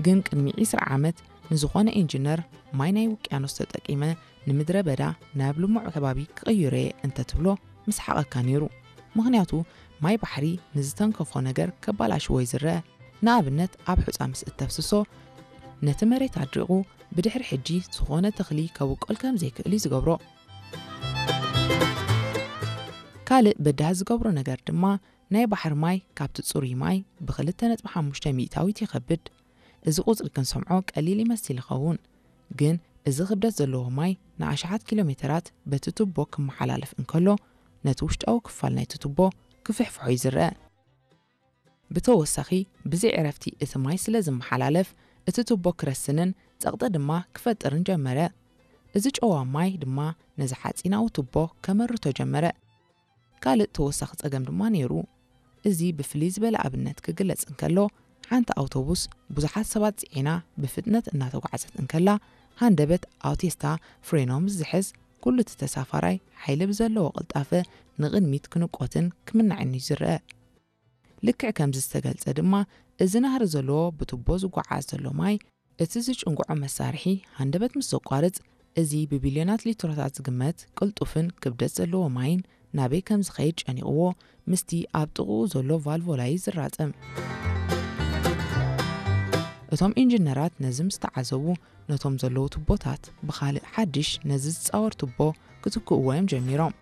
ግን ቅድሚ ዕስራ ዓመት ንዝኾነ ኢንጂነር ማይ ናይ ውቅያኖስ ተጠቂመ ንምድረ በዳ ናብ ልሙዕ ከባቢ ክቕይሮ እየ እንተትብሎ ምስሓቐካ ነይሩ። ምኽንያቱ ማይ ባሕሪ ንዝተንከፎ ነገር ከባላሽዎ እዩ ዝረአ። ንኣብነት ኣብ ሑጻ ምስ እተፍስሶ ነቲ መሬት ኣድሪቑ ብድሕሪ ሕጂ ዝኾነ ተኽሊ ከብቆል ከም ዘይክእል እዩ ዝገብሮ። ካልእ በዳህ ዝገብሮ ነገር ድማ ናይ ባሕሪ ማይ ካብቲ ጽሩይ ማይ ብ2.5 ሚእታዊት ይኸብድ። እዚ ቁጽሪ ክንሰምዖ ቀሊል ይመስል ይኸውን፣ ግን እዚ ክብደት ዘለዎ ማይ ንኣሽሓት ኪሎ ሜተራት በቲ ቱቦ ክመሓላለፍ እንከሎ ነቲ ውሽጣዊ ክፋል ናይቲ ቱቦ ክፍሕፍሖ እዩ ዝረአ። ብተወሳኺ ብዘይ ዕረፍቲ እቲ ማይ ስለ ዝመሓላለፍ እቲ ቱቦ ክረስንን ጸቕጢ ድማ ክፈጥርን ጀመረ። እዚ ጨዋ ማይ ድማ ነዚ ሓጺናዊ ቱቦ ከመርቶ ጀመረ። ካልእ ተወሳኺ ጸገም ድማ ነይሩ። እዚ ብፍልይ ዝበለ ኣብነት ክግለጽ እንከሎ ሓንቲ ኣውቶቡስ ብዙሓት ሰባት ጽዒና ብፍጥነት እናተጓዕዘት እንከላ ሃንደበት ኣውቴስታ ፍሬኖ ምስ ዝሕዝ ኩሉ እቲ ተሳፋራይ ሓይሊ ብዘለዎ ቅልጣፈ ንቕድሚት ክንቆትን ክምናዕን እዩ ዝረአ። ልክዕ ከምዚ ዝተገልጸ ድማ እዚ ናህሪ ዘለዎ ብቱቦ ዝጓዓዝ ዘሎ ማይ እቲ ዝጭንጉዖ መሳርሒ ሃንደበት ምስ ዘቋርጽ እዚ ብቢልዮናት ሊትሮታት ዝግመት ቅልጡፍን ክብደት ዘለዎ ማይን ናበይ ከም ዝኸይድ ጨኒቕዎ ምስቲ ኣብ ጥቕኡ ዘሎ ቫልቮላ እዩ ዝራጸም። እቶም ኢንጂነራት ነዚ ምስ ተዓዘቡ ነቶም ዘለዉ ቱቦታት ብኻልእ ሓድሽ ነዚ ዝጻወር ቱቦ ክትክእዎ እዮም ጀሚሮም።